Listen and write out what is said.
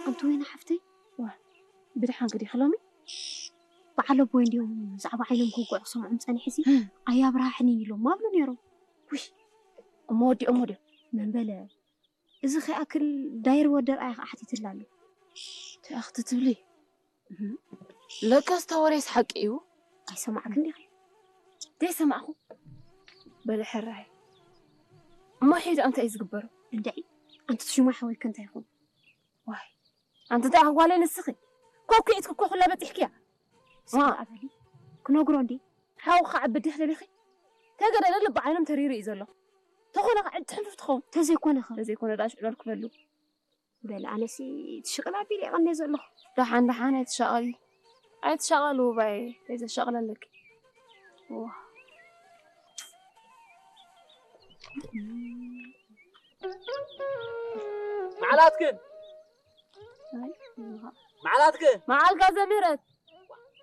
ኣንቲ ወይኒ ሓፍተይ፣ ዋ፣ ብድሓን ክዲኺ ሎሚ? በዓል ኣቦይ እንዲዮም ዛዕባ ዓይኖም ክውግዑ ክሰምዖም ጸኒሐ ሲ፣ ኣያብርሃሕኒ ኢሎም ኣብሉ ነይሮም። ውይ፣ እሞ ወዲኦሞ ድዮም? መን በለ? እዚ ከይኣክል ዳይር ወደር ኣያ ከዓ ሓቲትላ ኣሎ። እንታይ ኣኽቲ ትብሊ? ለካስ ተወሬስ ሓቂ እዩ። ኣይሰማዕክን ዲኺ? ዘይሰማዕኹ? በለ ሕራይ። እሞ ሒዳ እንታይ እዩ ዝግበሩ? እንድዒ፣ ኣንቲ ትሽማ ሓወይከ እንታይ ይኹን? ዋይ፣ ኣንቲ እንታይ ኣጓለ ንስኺ? ኮኪዒት ክኮ ኩላ በፂሕክያ። ሰማዕ በሊ፣ ክነግሮ እንዲ። ሓው ከዓ ብድሕ ደሊኺ? ተገደለ ልቢ ዓይኖም ተሪሩ እዩ ዘሎ። ተኾነ ከዓ ዕድ ትሕንፍፍ ትኸውን። ተዘይኮነ ኸ? ተዘይኮነ ደኣ ሽዕለል ክበሉ። በል ኣነሲ ትሽቕል ኣቢለ ይቐነ ዘለኹ። ደሓን ደሓን ኣይትሻቐሊ። ኣይትሻቐሉ ባይ፣ ተይዘሻቕለለኪ። ዋ። መዓላትክን? መዓላትክን? መዓልካ ዘምህረት።